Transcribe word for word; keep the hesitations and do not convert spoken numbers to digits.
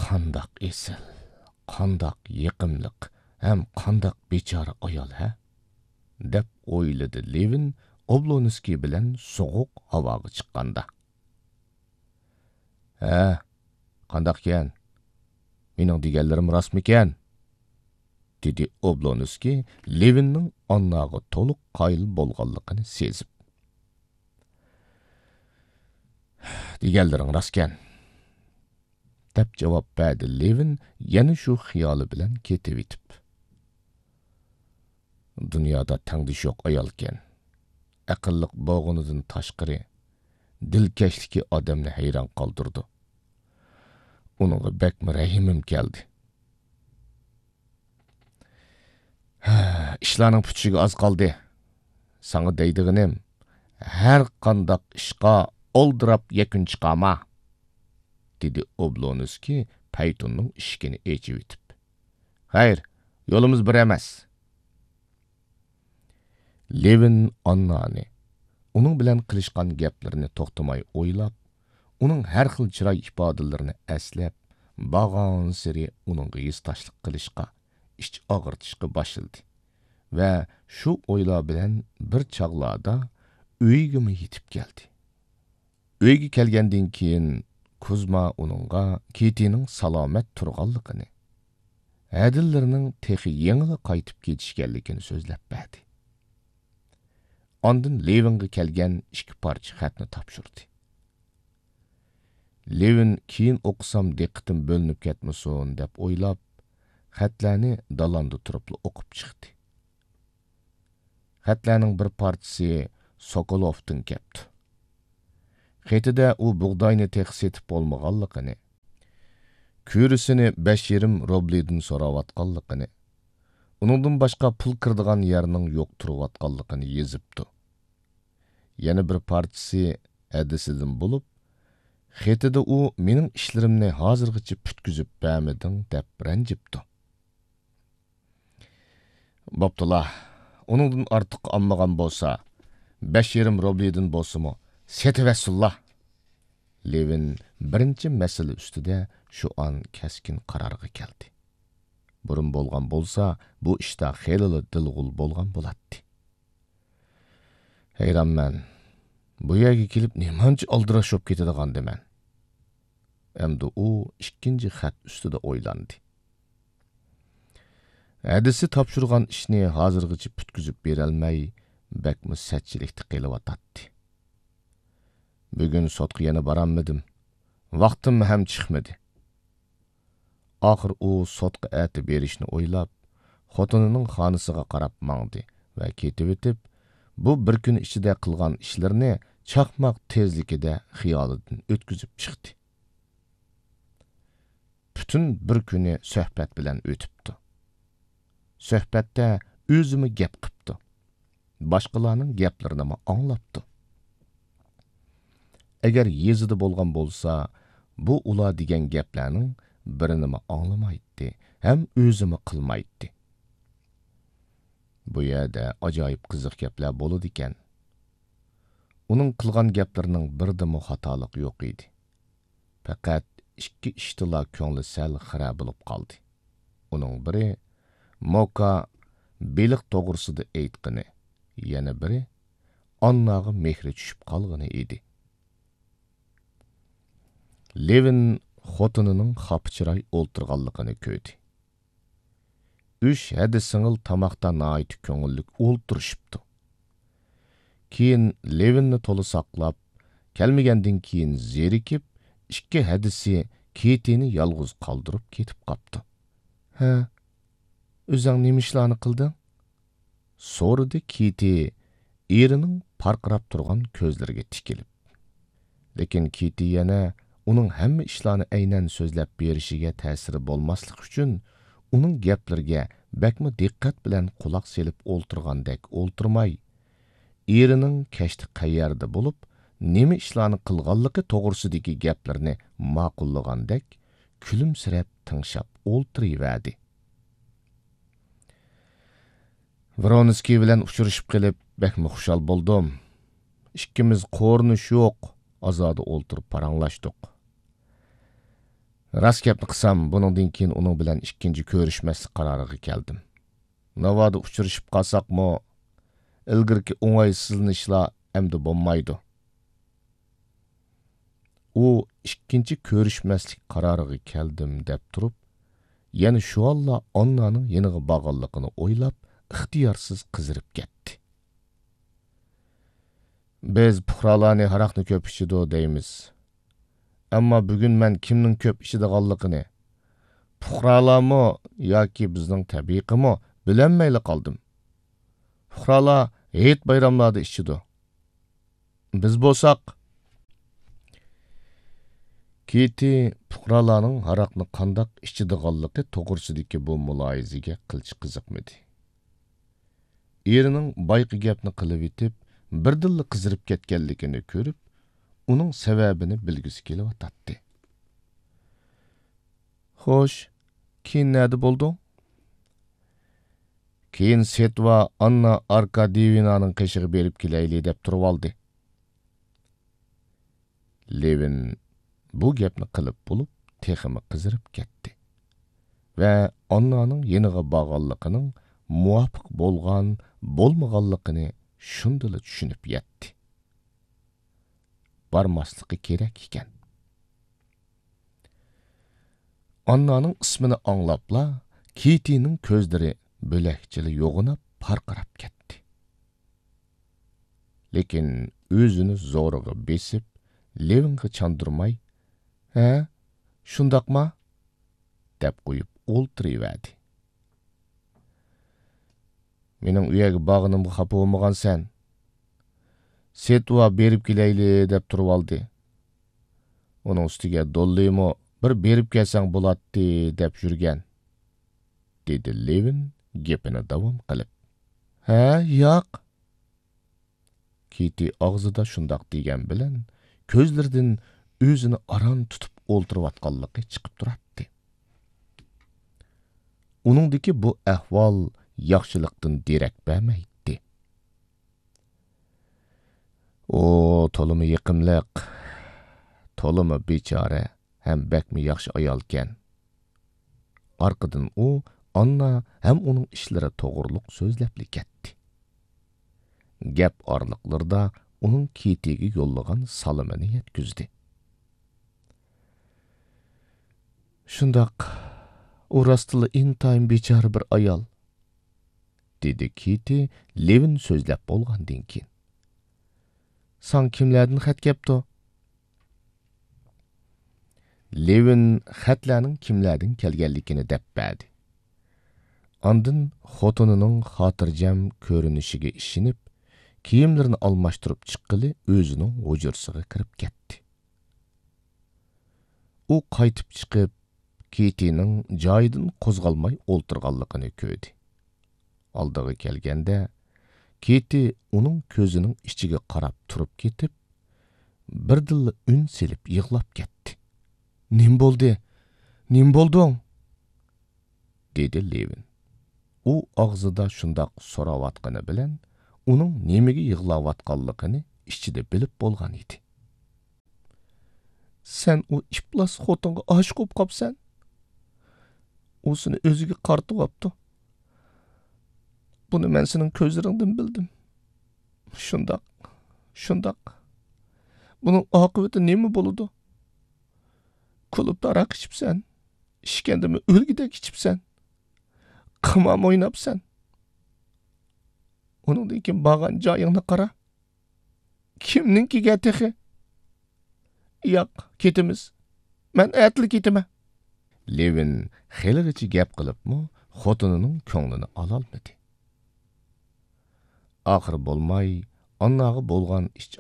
قانداق ئېسىل، قانداق يېقىملىق ھەم قانداق بىچارە ئايال ھە؟ دەپ ئويلىدى لېۋىن ئوبلونسكىي بىلەن سوغۇق ھاۋاغا چىققاندا. ھە، قانداقكەن؟ مېنىڭ دېگەنلىرىم راستمىكەن؟ دېدى ئوبلونسكىي لېۋىننىڭ ئانناغا تولۇق قايىل بولغانلىقىنى سېزىپ. دېگەنلىرىڭ راستكەن، دەپ جاۋاب بەردى لېۋىن يەنە شۇ خىيالى بىلەن كېتىۋېتىپ. دۇنيادا تەڭدىشى يوق ئايالكەن. ئەقىللىق بولغىنىدىن تاشقىرى، دىلكەشلىكى ئادەمنى ھەيران قالدۇرىدۇ. ئۇنىڭغا بەكمۇ رەھىمىم كەلدى. ھە، ئىشلارنىڭ پۈتۈشىگە ئاز قالدى. ساڭا دەيدىغىنىم، ھەر قانداق ئىشقا ئالدىراپ يەكۈن چىقارما، دېدى ئوبلونسكىي پەيتۇننىڭ ئىشىكىنى ئېچىۋېتىپ. خەير، يولىمىز بىر ئەمەس. لېۋىن ئاننانى، ئۇنىڭ بىلەن قىلىشقان گەپلىرىنى توختىماي ئويلاپ، ئۇنىڭ ھەر خىل چىراي ئىپادىلىرىنى ئەسلەپ، بارغانسېرى ئۇنىڭغا ھېسداشلىق قىلىشقا، ئىچ ئاغرىتىشقا باشلىدى ۋە شۇ ئويلار بىلەن بىر چاغلاردا ئۆيىگىمۇ يېتىپ كەلدى. ئۆيگە كەلگەندىن كېيىن، كۇزما ئۇنىڭغا كېتىنىڭ سالامەت تۇرغانلىقىنى، ھەدىلىرىنىڭ تېخى يېڭىلا قايتىپ كېتىشكەنلىكىنى سۆزلەپ بەردى. ئاندىن لېۋىنغا كەلگەن ئىككى پارچە خەتنى تاپشۇردى. لېۋىن كېيىن ئوقۇسام دىققىتىم بۆلۈنۈپ كەتمىسۇن دەپ ئويلاپ، خەتلەرنى دالاندا تۇرۇپلا ئوقۇپ چىقتى. خەتلەرنىڭ بىر پارچىسى سوكولوۋتىن كەپتۇ. خېتىدە ئۇ بۇغداينى تېخى سېتىپ بولمىغانلىقىنى، كۈرىسىنى بەش يېرىم روبلىدىن سوراۋاتقانلىقىنى، ئۇنىڭدىن باشقا پۇل كىرىدىغان يەرنىڭ يوق تۇرۇۋاتقانلىقىنى يېزىپتۇ. يەنە بىر پارچىسى ھەدىسىدىن بولۇپ، خېتىدە ئۇ مېنىڭ ئىشلىرىمنى ھازىرغىچە پۈتكۈزۈپ بەرمىدىڭ دەپ رەنجىپتۇ. بوپتۇلا، ئۇنىڭدىن ئارتۇق ئالمىغان بولسا، بەش يېرىم روبلىدىن بولسىمۇ سېتىۋەتسۇنلا. لېۋىن بىرىنچى مەسىلە ئۈستىدە شۇ ئان كەسكىن قارارغا كەلدى. بۇرۇن بولغان بولسا، بۇ ئىشتا خېلىلا دىلغۇل بولغان بولاتتى. ھەيرانمەن، بۇ يەرگە كېلىپ نېمانچە ئالدىراش بولۇپ كېتىدىغاندىمەن؟ ئەمدى ئۇ ئىككىنچى خەت ئۈستىدە ئويلاندى. ھەدىسى تاپشۇرغان ئىشنى ھازىرغىچە پۈتكۈزۈپ بېرەلمەي، بەكمۇ سەتچىلىكتە قېلىۋاتاتتى. بۈگۈن سوتقا يەنە بارالمىدىم. ۋاقتىم ھەم چىقمىدى. ئاخىر ئۇ سوتقا ئەتە بېرىشنى ئويلاپ، خوتۇنىنىڭ خانىسىغا قاراپ ماڭدى ۋە كېتىۋېتىپ، بۇ بىر كۈن ئىچىدە قىلغان ئىشلىرىنى چاقماق تېزلىكىدە خىيالىدىن ئۆتكۈزۈپ چىقتى. پۈتۈن بىر كۈنى سۆھبەت بىلەن ئۆتۈپتۇ. سۆھبەتتە ئۆزىمۇ گەپ قىپتۇ. باشقىلارنىڭ گەپلىرىنىمۇ ئاڭلاپتۇ. ئەگەر يېزىدا بولغان بولسا، بۇ ئۇلار دېگەن گەپلەرنىڭ بىرىنىمۇ ئاڭلىمايتتى ھەم ئۆزىمۇ قىلمايتتى. بۇ يەردە ئاجايىپ قىزىق گەپلەر بولىدىكەن. ئۇنىڭ قىلغان گەپلىرىنىڭ بىرىدىمۇ خاتالىق يوق ئىدى. پەقەت ئىككى ئىشتىلا كۆڭلى سەل خىرە بولۇپ قالدى. ئۇنىڭ بىرى موكا بېلىق توغرىسىدا ئېيتقىنى، يەنە بىرى ئانناغا مېھرى چۈشۈپ قالغىنى ئىدى. لېۋىن خوتۇنىنىڭ خاپا چىراي ئولتۇرغانلىقىنى كۆردى. ئۈچ ھەدە سىڭىل تاماقتا ناھايىتى كۆڭۈللۈك ئولتۇرۇشۇپتۇ. كېيىن لېۋىننى تولا ساقلاپ، كەلمىگەندىن كېيىن زېرىكىپ، ئىككى ھەدىسى كېتىنى يالغۇز قالدۇرۇپ كېتىپ قاپتۇ. ھە، ئۆزۈڭ نېمە ئىشلارنى قىلدىڭ؟ سورىدى كېتى ئېرىنىڭ پارقىراپ تۇرغان كۆزلىرىگە تىكىلىپ. لېكىن كېتى يەنە ئۇنىڭ ھەممە ئىشلارنى ئەينەن سۆزلەپ بېرىشىگە تەسىرى بولماسلىق ئۈچۈن، ئۇنىڭ گەپلىرىگە بەكمۇ دىققەت بىلەن قۇلاق سېلىپ ئولتۇرغاندەك ئولتۇرماي، ئېرىنىڭ كەچتە قەيەردە بولۇپ، نېمە ئىشلارنى قىلغانلىقى توغرىسىدىكى گەپلىرىنى ماقۇللىغاندەك كۈلۈمسىرەپ تىڭشاپ ئولتۇرۇۋەردى. ۋرونسكىي بىلەن ئۇچرىشىپ قېلىپ بەكمۇ خۇشال بولدۇم. ئىككىمىز قورۇنۇش يوق، ئازادە ئولتۇرۇپ پاراڭلاشتۇق. راست گەپنى قىلسام، بۇنىڭدىن كېيىن ئۇنىڭ بىلەن ئىككىنچى كۆرۈشمەسلىك قارارىغا كەلدىم. ناۋادا ئۇچرىشىپ قالساقمۇ، ئىلگىرىكى ئوڭايسىزلىنىشلار ئەمدى بولمايدۇ. ئۇ ئىككىنچى كۆرۈشمەسلىك قارارىغا كەلدىم دەپ تۇرۇپ، يەنە شۇ ھالدا ئاننانىڭ يېنىغا بارغانلىقىنى ئويلاپ، ئىختىيارسىز قىزىرىپ كەتتى. بىز پۇقرالارنى ھاراقنى كۆپ ئىچىدۇ دەيمىز. ئەمما بۈگۈن مەن كىمنىڭ كۆپ ئىچىدىغانلىقىنى، پۇقرالارمۇ ياكى بىزنىڭ تەبىقىمۇ بىلەلمەيلا قالدىم. پۇقرالار ھېيت بايراملاردا ئىچىدۇ. بىز بولساق. كىتى پۇقرالارنىڭ ھاراقنى قانداق ئىچىدىغانلىقى توغرىسىدىكى بۇ مۇلاھىزىگە قىلچە قىزىقمىدى. ئېرىنىڭ بايىقى گەپنى قىلىۋېتىپ، بىردىنلا قىزىرىپ كەتكەنلىكىنى كۆرۈپ، ئۇنىڭ سەۋەبىنى بىلگۈسى كېلىۋاتاتتى. خوش، كېيىن نەدە بولدۇڭ؟ كېيىن سېتۋا ئاننا ئاركادىيېۋنانىڭ قېشىغا بېرىپ كېلەيلى دەپ تۇرۇۋالدى. لېۋىن بۇ گەپنى قىلىپ بولۇپ، تېخىمۇ قىزىرىپ كەتتى ۋە ئاننانىڭ يېنىغا بارغانلىقىنىڭ مۇۋاپىق بولغان، بولمىغانلىقىنى شۇندىلا چۈشىنىپ يەتتى. بارماسلىقى كېرەك ئىكەن. ئاننانىڭ ئىسمىنى ئاڭلاپلا، كىتىنىڭ كۆزلىرى بۆلەكچىلا يوغىناپ پارقىراپ كەتتى. لېكىن ئۆزىنى زورىغا بېسىپ، لېۋىنغا چاندۇرماي، ھە، شۇنداقما؟ دەپ قويۇپ ئولتۇرۇۋەردى. مېنىڭ ئۇ يەرگە بارغىنىمغا خاپا بولمىغانسەن؟ سېتۋا بېرىپ كېلەيلى دەپ تۇرۇۋالدى. ئۇنىڭ ئۈستىگە دوللىمۇ بىر بېرىپ كەلسەڭ بولاتتى دەپ يۈرگەن، دېدى لېۋىن گېپىنى داۋام قىلىپ. ھە، ياق. كىتى ئاغزىدا شۇنداق دېگەن بىلەن، كۆزلىرىدىن ئۆزىنى ئاران تۇتۇپ ئولتۇرۇۋاتقانلىقى چىقىپ تۇراتتى. ئۇنىڭدىكى بۇ ئەھۋال ياخشىلىقتىن دېرەك بەرمەيتتى. ئۇ تولىمۇ يېقىملىق، تولىمۇ بىچارە ھەم بەكمۇ ياخشى ئايالكەن. ئارقىدىن ئۇ ئاننا ھەم ئۇنىڭ ئىشلىرى توغرۇلۇق سۆزلەپلا كەتتى. گەپ ئارىلىقلىرىدا ئۇنىڭ كىتىگە يوللىغان سالىمىنى يەتكۈزدى. شۇنداق، ئۇ راستلا ئىنتايىن بىچارە بىر ئايال، دېدى كىتى لېۋىن سۆزلەپ بولغاندىن كېيىن. ساڭا كىملەردىن خەت كەپتۇ؟ لېۋىن خەتلەرنىڭ كىملەردىن كەلگەنلىكىنى دەپ بەردى. ئاندىن خوتۇنىنىڭ خاتىرجەم كۆرۈنۈشىگە ئىشىنىپ، كىيىملىرىنى ئالماشتۇرۇپ چىققىلى ئۆزىنىڭ ھۇجرىسىغا كىرىپ كەتتى. ئۇ قايتىپ چىقىپ، كىتىنىڭ جايىدىن قوزغالماي ئولتۇرغانلىقىنى كۆردى. ئالدىغا كەلگەندە، كىتى ئۇنىڭ كۆزىنىڭ ئىچىگە قاراپ تۇرۇپ كېتىپ، بىردىنلا ئۈن سېلىپ يىغلاپ كەتتى. نېمە بولدى؟ نېمە بولدۇڭ؟ دېدى لېۋىن. ئۇ ئاغزىدا شۇنداق سوراۋاتقىنى بىلەن، ئۇنىڭ نېمىگە يىغلاۋاتقانلىقىنى ئىچىدە بىلىپ بولغان ئىدى. سەن ئۇ ئىپلاس خوتۇنغا ئاشىق بولۇپ قاپسەن. ئۇ سېنى ئۆزىگە قارىتىۋاپتۇ. بۇنى مەن سېنىڭ كۆزلىرىڭدىن بىلدىم. شۇنداق، شۇنداق. بۇنىڭ ئاقىۋىتى نېمە بولىدۇ؟ كۇلۇبتا ھاراق ئىچىپسەن. ئىچكەندىمۇ ئۆلگۈدەك ئىچىپسەن. قىمارمۇ ئويناپسەن. ئۇنىڭدىن كېيىن بارغان جايىڭنى قارا. كىمنىڭكىگە تېخى؟ ياق، كېتىمىز. مەن ئەتىلا كېتىمەن. لېۋىن خېلىغىچە گەپ قىلىپمۇ خوتۇنىنىڭ كۆڭلىنى ئالالمىدى. ئاخىرى بولماي، ئانناغا بولغان ئىچ